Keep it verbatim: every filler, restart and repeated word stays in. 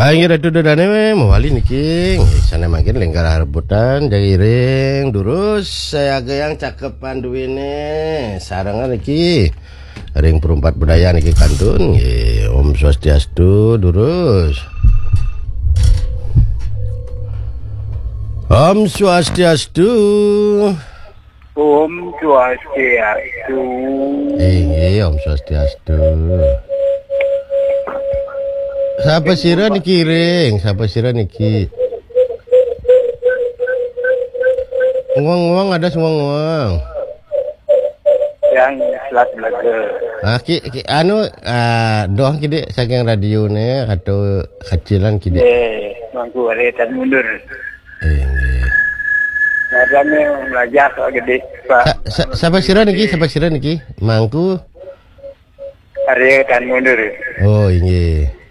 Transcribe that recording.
Inggih Ratu Dodane mawali niki. Nggih, sane mangkin lengkar rebutan, jaga iring, durus, sayaga yang cakepan duwene. Sarengan niki ring Perumpat Budaya niki kantun. Nggih, Om Swastiastu, durus. Om Swastiastu. Om Swastiastu. Inggih, Om Swastiastu. Sapa sira niki ring? Sapa sira niki? Nguang-nguang, ada nguang-nguang. Yang selat belaga. Ah, ki, ki, anu, ah, doh kidik saking radione atau kacilan kidik. Eh, mangku are tan mundur. Inggih. Nadane melajah kok gede, Pak. Sa-, sa-, sapa sira niki? Sapa sira niki? Mangku. Are tan mundur. Oh, inggih.